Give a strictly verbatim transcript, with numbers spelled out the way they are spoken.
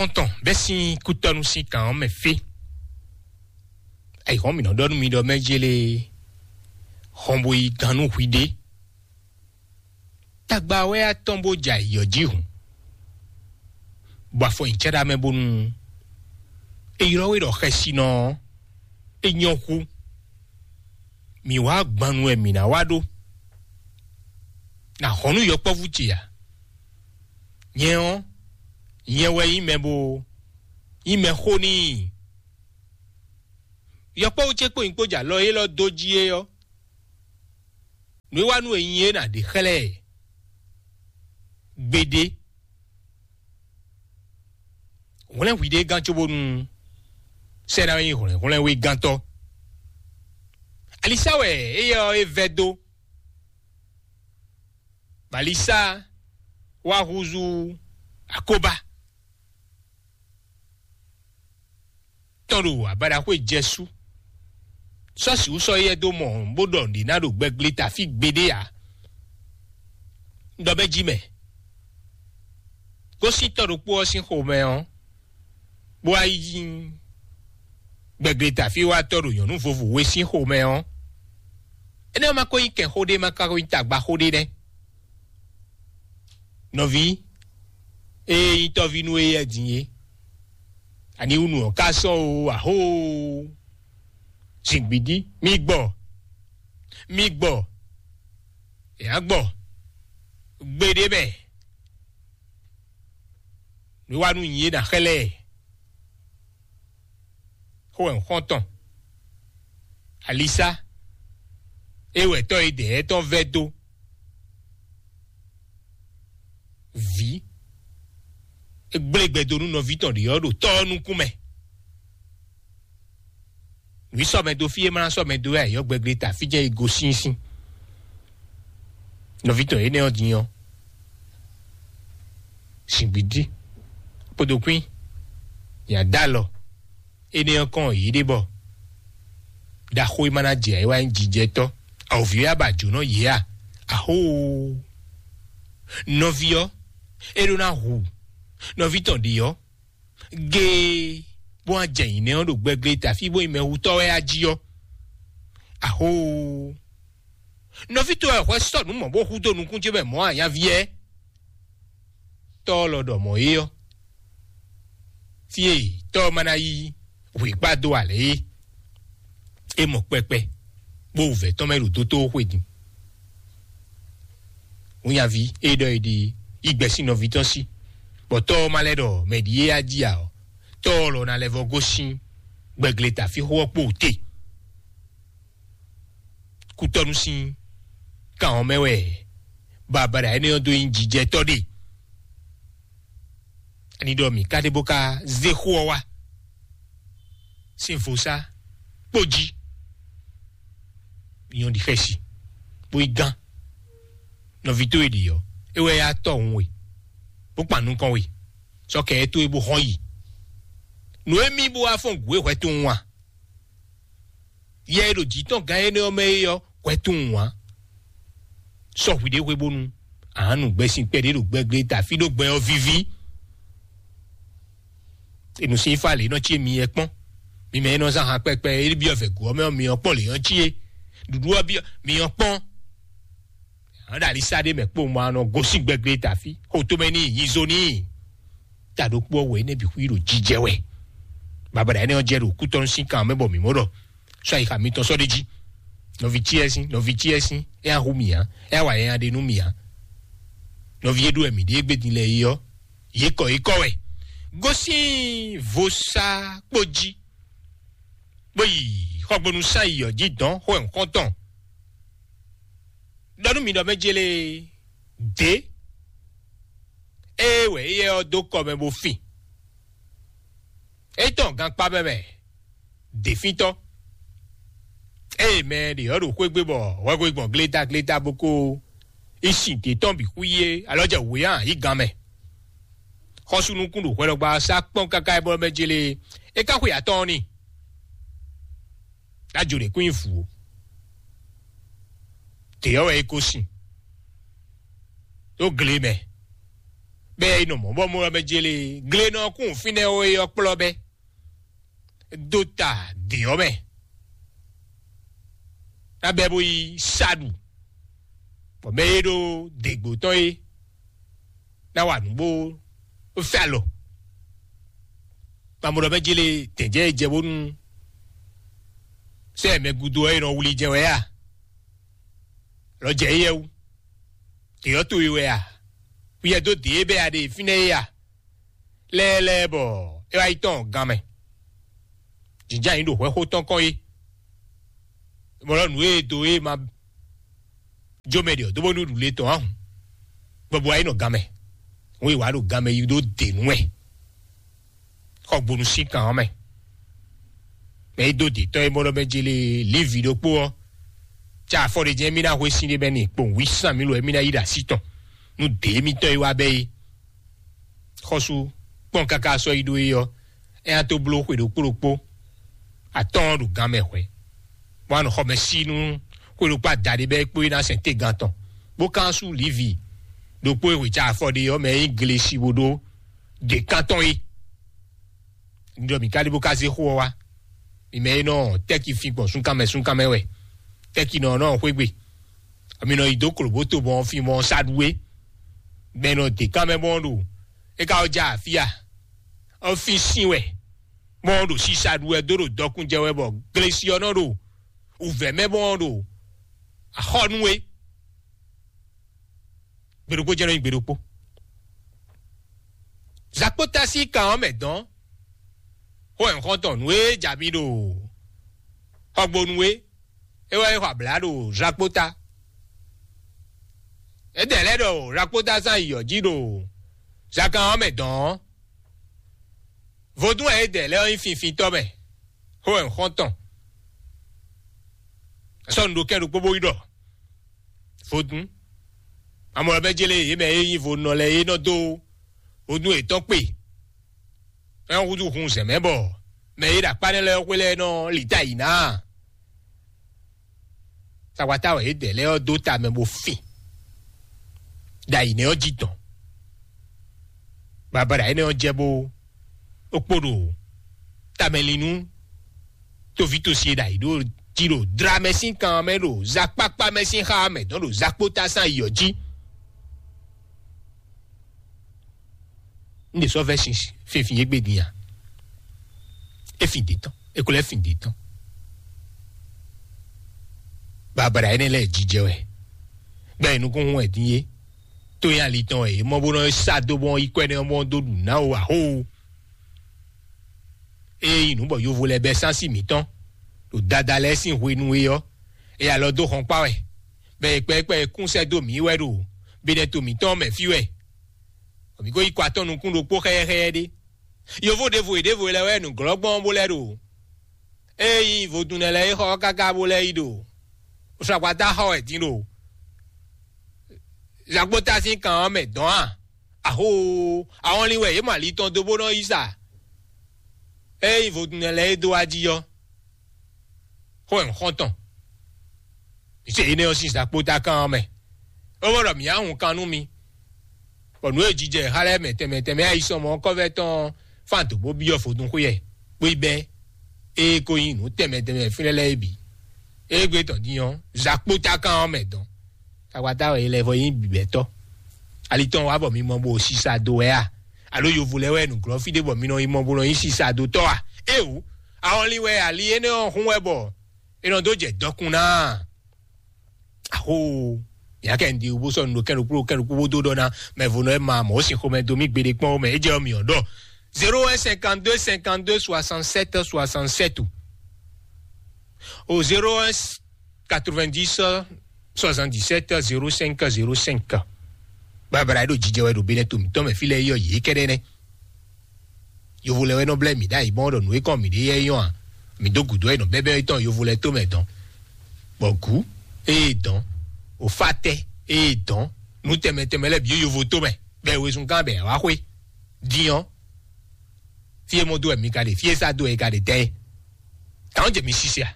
Xɔ́ntɔn bɛ́ sín kútɔ́nú sín kan ɔ́ mɛ fí. Ayǐhɔ́n mǐ nɔ ɖɔ nú mi ɖɔ mɛ jélé hɔn bo yi gannú hwiɖée. Tagba wɛ atɔn bó jɛ ayǐ ɔ́ jí hǔn, bɔ afɔ nyi cɛ́ɖá mɛ bónú è ylɔ́ we ɖɔ xɛsinɔ ɔ́, é nyɔ́ hú. Mǐ wá gban nu wɛ mǐ ná wá ɖó. Nǎ hɔn nú yɔkpɔ́vú ce ǎ. Nyɛ ɔ́, nyɛ wɛ nyí mɛ bo nyí mɛ xó n'i. Yɔkpɔ́vú ce kpó nyí kpó jɛ alɔ élɔ́ dó jí é ɔ́, nǔ e wá nú è nyi é nǎ ɖe xlɛ́ ɛ gbeɖé. Hwlɛ́n hwiɖée gán cóbónú sɛ́ ná nyí hwlɛ̌nhwlɛ́n wegantɔ́. Alisa wɛ éyɛ́ ɔ́ é vɛ́ dó. Balisa wá húzú akóbá tɔn ɖo abaɖaxwé jɛsú. Sɔ́ sǐ wú sɔ́ yɛ dó mɔ bó ɖɔ nǔɖé ná ɖo gbɛglé tafí gbeɖé ǎ. Ɖɔ bɛ́ jí mɛ. Gosín tɔ́ ɖokpó ɔ́ sín xomɛ ɔ́, bó wá yi gbɛglé tafí wá tɔ́ ɖo nyɔ̌nu vovo we sín xomɛ ɔ́, énɛ́ ɔ́ ma ko nyí kɛnxó ɖé, ma ka ko nyí tagbaxó ɖé nɛ́. Nɔví, ée nyí tɔ́ví nú éyɛ́ din é, aniwúnu ɔ́ ka sɔ́ o, ahóo! Zǐngbídí, mi gbɔ, mi gbɔ, è nǎ gbɔ gbeɖé mɛ. Nǔ e wá nú nyí é ná xlɛ́ ɛ. Xó wɛ un xɔ́n tɔn. Alisa, é wɛ tɔ́ e dɛ̌ tɔn vɛ́ dó. Vǐ, é gblé gbɛ dó nú nɔví tɔn ɖě ɔ́ ɖo tɔ́ ɔ́ nukún mɛ. Nǔ sɔ́ mɛ dó fí e ma ná sɔ́ mɛ dó wɛ ayǐ ɔ́ gbɛgbɛ ta fí jɛ́n e gosín sín. Nɔví tɔn énɛ́ ɔ́ din ɔ́, zǐngbídí kpódó kwín, nya dó alɔ énɛ́ ɔ́ kɔn yě ɖe bɔ ɖaxó e ma ná jɛ ayǐ wá nyí jijɛtɔ́. Awǒvi ɔ́ yá ba jǒnɔ yě a? Ahóoo! Nɔví ɔ́, é ɖó ná hu nɔví tɔn ɖě ɔ́ géé, bó wá jɛ nyǐnɛ́ ɔ́ ɖo gbɛglé ta fí bó nyí mɛhutɔ́ wɛ á jí ɔ́. Ahóoo! Nɔví towe wɛ hwɛ sɔ́ nǔ mɔ̌ bó hudó nukún ce mɛ mɔ̌ a, nyaví ɛ? Tɔ́ ɔ́ lɔ ɖɔ mɔ̌ é ɔ́, fí e tɔ́ ɔ́ ma ná yí hwǐkpá dó ǎ lɛ́ɛ é. É mɔ kpɛkpɛ, bó wǔvɛ́ tɔn mɛ ɖo dótó xwe din. Hunyaví é ɖɔ é ɖi yí gbɛ́ sín nɔví tɔn sí, bɔ tɔ́ ɔ́ ma lɛ́ ɖɔ mɛ ɖíe á jí ǎ ɔ́, tɔ́ ɔ́ lɔ ná lɛ́ vɔ́ gosín gbɛglé ta fí xó ɔ́ kpó te. Kútɔ́nú sín kan ɔ́ mɛ wɛ babada énɛ́ ɔ́ dó nyí jijɛtɔ́ ɖe. Ani ɖɔ mǐ ka ɖe bó ka zé xó ɔ́ wá sín vodúnsi kpó jí. Nyɔ̌ɖi xɛsi bó yi gán. Nɔví towe ɖi ɔ́, é wɛ yá tɔ́hun we, bó kpan nukɔn we, sɔ́ kɛ ɛ towe bó xɔ́n yi. Nǔ e mì bó wá fɔ́n gǔ e hwɛ tunwun a? Yɛ e ɖo jǐ tɔn gán énɛ́ ɔ́ mɛ é ɔ́, hwɛ tunwun ǎ. Sɔ́ hwiɖée hwe bónú a nǎ nu gbɛsin kpɛɖé ɖo gbɛglé ta fí ɖó gbɛ ɔ́ víví. È nǔ sín fá lě nɔ cí mi yɛ kpɔ́n. Mi mɛ e nɔ zán han kpɛkpɛ e byɔ́ vɛ̌ gǔ ɔ́ mɛ ɔ́, mi ɔ́ kpɔ́n lě nɔ cí é. Ɖuɖu ɔ́ byɔ́ mi ɔ́ kpɔ́n. Ǎ ɖo ali sá ɖé mɛ kpó ma nɔ gosín gbɛgbɛ ta fí. Xo tomɛ n'i, nyi zo n'i. Ta ɖokpó ɔ́ wɛ énɛ́ bǐ xwí ɖo jijɛ wɛ. Babada énɛ́ ɔ́ jɛ ɖo kútɔ́nú sín kan mɛ bɔ mǐ mɔ ɖɔ sɔ́ ayixa mitɔn sɔ́ ɖ'é jí. Nɔví cyɛ́sín, nɔví cyɛ́sín, é ná hu mǐ ǎ, é ná wa nyanya ɖe nú mǐ ǎ. Nɔví e ɖó wɛ mǐ ɖe égbé din lɛ́ɛ é ɔ́, yě kɔ yě kɔ wɛ. Gosín vodúnsi kpó jí, bó yi xɔgbónú sán yi ɔ́ jí dɔn xó ɛ nukɔntɔn. Ɖɔ nú mi ɖɔ mɛ jélé dě, ée wɛ éyɛ́ ɔ́ dó kɔ mɛ bó fin. É tɔn gankpá mɛ mɛ děfíntɔ́. Ée mɛ ɖě ɔ́ ɖo xwé gbe bɔ hwɛhwe gbɔn glétáglétá bó ko yi sin dě tɔn bǐ xwí é, alɔ jɛ wǔ é ǎ, yi gan mɛ. Xɔ́sú nukún ɖo hwɛɖɔgba ɔ́ sá kpɔ́n káká é bɔ mɛ jélé é ka xwe atɔ́ɔ́n n'i. Ná jo ɖě kún nyi vǔ ó. Dě ɔ́ wɛ é ko sin ɖó gle mɛ. Bɛ yi nɔ mɔ bɔ mo mɛ jele gle nɔ kún fínɛ́ o yɔ kplɔ bɛ dó ta dě ɔ́ mɛ. Ná bɛ bó yi saɖu, bɔ mɛ e ɖo děgbó tɔn é ná wa nǔgbó fɛ alɔ. Mamɔɖɔ mɛ jele tɛ̌njɛ e jɛ bónú sɛ mɛ gúdo ɔ́ e nɔ wlí jɛ wɛ a? Lɔ jɛ éyɛ́ wú. Dě ɔ́ towe wɛ a? Wíyɛ dó dě e bɛ a ɖe fínɛ́ é a? Lɛ́ɛ lɛ́ɛ bɔ é wá yi tɔn gan mɛ. Jǐnján yǐ ɖo hwɛxó tɔn kɔn é. Mɔ̌ lɔ nǔ e do é ma jó mɛ ɖe ɔ́ dó bónú ɖu le tɔn ahun. Gbɔbɔ wá yi nɔ gan mɛ. Wọ́n yi wá ɖo gan mɛ yi ɖó dě nú wɛ. Xɔ gbonu sín kan ɔ́ mɛ. Mɛ yi dó dě tɔn é mɔ́ ɖɔ mɛ jele lívi ɖokpó ɔ́. Cá afɔ ɖe jɛ́n mí ná hwe sín ɖé bɛ́ ni kpowun wí sán mí lo é mí ná yí ɖo así tɔn. Nú dě émítɔn yi wá bɛ́ é. Xɔsu kpɔn káká sɔ́ yi ɖó é ɔ́, é ná tó bló xwe ɖokpó ɖokpó atɔ́ɔ́n ɖo gan mɛ hwɛ̌, bó wá nɔ xɔ mɛ sí nú xwe ɖokpó adaɖé bɛ́ é kpó é ná sɛn tégan tɔn, bó kán sú Livi ɖokpó e hwe ca afɔ ɖe ɔ́ mɛ é nyí glesi bó ɖó ɖě kántɔn é. Un ɖɔ mǐ ka ɖi bó ka zé xó ɔ́ wá. Mi mɛ e nɔ tɛ́ki fin gbɔn súnkanmɛ súnkanmɛ wɛ, tɛ́ki nɔ nɔ xwé gbe, mi nɔ yi dó klǒbóto mɔ fin mɔ saɖuwe, mɛ nɔ dě ká mɛ mɔ ɖo é ka wɔ ja afia ɔ́ fin sín wɛ, mɔ ɖo sisa ɖu wɛ dó ɖo dɔkun jɛ wɛ bɔ glesi ɔ́ nɔ ɖo wǔvɛ́ mɛ mɔ ɖo axɔ́ nú we. Gbeɖokpó jɛ nɔ nyi gbeɖokpó. Zakpóta sín kan ɔ́ mɛ dɔn xó ɛnxɔntɔn nú é ja mi ɖo xɔgbonu é, é wɛ é xɔ abla ɖo zakpóta. É dɛ lɛ́ ɖɔ zakpóta zán yi yɔ̌ jí ɖo zakan ɔ́ mɛ dɔn ɔ́. Vodún wɛ é dɛ lɛ́ ɔ́ nyí finfintɔ́ mɛ xó ɛnxɔntɔn. Sɔ́ nu ɖo kɛ́n ɖokpó bó yi ɖɔ vodún. Amɔ̌ bɛ jélé yě mɛ e nyí vodúnnɔ lɛ́ɛ é nɔ dó vodún yětɔn kpe. É nɔ húzú hun zɛ̌ mɛ bɔ mɛ e ɖo akpá nɛ́ lɛ́ɛ xwé lɛ́ɛ nɔ lǐta yǐ ná. Sakwata wɛ yě dɛ lɛ́ɛ ɔ́ dó ta mɛ bó fin. Ɖo ayǐ nɛ́ ɔ́ jí tɔn. Babala énɛ́ ɔ́ jɛ bó ó kpo ɖo tamɛlinú tóvítósi e ɖo ayǐ ɖo jí ɖo dra mɛ sín kan mɛ ɖo zakpakpa mɛ sín xá mɛ dɔn ɖo zakpóta sín ayǐ ɔ́ jí. Un ɖe sɔ́ vɛ́ sin fínfín yé gbe din a? É fin dě tɔn, é ko lɛ́ fin dě tɔn. Babala énɛ́ lɛ́ɛ jijɛ wɛ, gbɛ́ nukúnhún wɛ din yé. Tó nyí ali tɔn wɛ yě mɔ bó nɔ sá dó bɔn yi kɔ ɛnɛ ɔ́ bɔn dó ɖu ná o axó. Ée nyí nǔ bɔ yovo lɛ́ɛ bɛ́ sánsí mǐtɔn ɖo dada lɛ́ɛ sín hwenu é ɔ́, é alɔ dó xɔnkpá wɛ, bɔ è kpɛkpɛ kún sɛ́ dó mǐ wɛ ɖo benɛto mǐtɔn mɛ fí wɛ. Bɔ mǐ ko yi kɔ atɔ́ nukún ɖokpó xɛyɛ́xɛyɛ́ ɖé. Yovo ɖěvo e ɖěvo lɛ́ɛ wɛ nǔglɔ́gbɔn bó lɛ́ ɖo. Ée nyí vodún nɛ́ lɛ́ɛ é xɔ ɔ́ káká bó lɛ́ yi ɖo. Sɔgbata xɔ wɛ din ɖo. Zagbota sín kan ɔ́ mɛ dɔn a? Axó, ahɔnlin wɛ yě mɔ ali tɔn dó bó nɔ yí sa. Ée nyí vodún nɛ́ lɛ́ɛ é dó wá jí ɔ́, xó wɛ un xɔ́n tɔn. Mi se énɛ́ ɔ́ sín zakpóta kan ɔ́ mɛ. É wɔ ɖɔ mǐ á hun kan nú mi, bɔ nǔ e jijɛ xá lɛ́ɛ mɛ tɛnmɛ tɛnmɛ ayisɔmɔ ɔ́ kɔ́vɛ́ tɔn fán dǒ bó byɔ́ vodún xwé ɛ, bó yi bɛ́ ée ko nyí nǔ tɛnmɛ tɛnmɛ fínɛ́ lɛ́ɛ é bǐ. Égbé tɔn din ɔ́, zakpóta kan ɔ́ mɛ dɔn. Takwata wɛ è lɛ vɔ nyí bǐbɛ́tɔ́. Ali tɔn wá bɔ mi mɔ bó sisa dó wɛ a? Alo yovo lɛ́ɛ wɛ nǔglɔ́ fí ɖé bɔ mi nɔ yi mɔ bó nɔ nyí sisa dó tɔ́ a? Éeǒ, ahɔnlin wɛ ali énɛ́ ɔ́ hún wɛ bɔ è nɔ dó jɛ dɔkun ná a? Axó, mǐ kɛ un ɖi wú bó sɔ́ nǔ ɖo kɛ́n ɖokpó kɛ́n ɖokpó bó dó ɖɔ ná mɛ vo nɔ é ma mɔ̌ sin xomɛ dó mì gbeɖé kpɔ́n mɛ é jɛ ɔ́ mǐ ɔ́ ɖɔ zéro un cinquante-deux cinquante-deux soixante-sept soixante-sept o zéro un quatre-vingt-dix soixante-dix-sept zéro cinq zéro cinq. Babala e ɖo jijɛ wɛ ɖo benɛ to mǐtɔn mɛ fí lɛ́ɛ yɔ yě kɛ́ɖɛ́ nɛ́. Yovo lɛ wɛ nɔ blɛ́ mǐ ɖ'ayǐ mɔ ɖɔ nǔ e kɔn mǐ ɖe yɛ é nyɔ́ a? Mǐ dó gǔdo e nɔ bɛ́bɛ́ tɔn yovo lɛ tó mɛ dɔn, bɔ gǔ ée dɔn, òfátɛ́ ée dɔn, nǔ tɛnmɛ tɛnmɛ lɛ́ɛ bǐ yovo tó mɛ, bɔ è wezun gán bɔ è wá xwé. Din ɔ́, fí e mɔ dó wɛ mi ka ɖe, fí e sá dó wɛ è ka ɖe tɛ́ é? Tǎn jɛ mi sise a?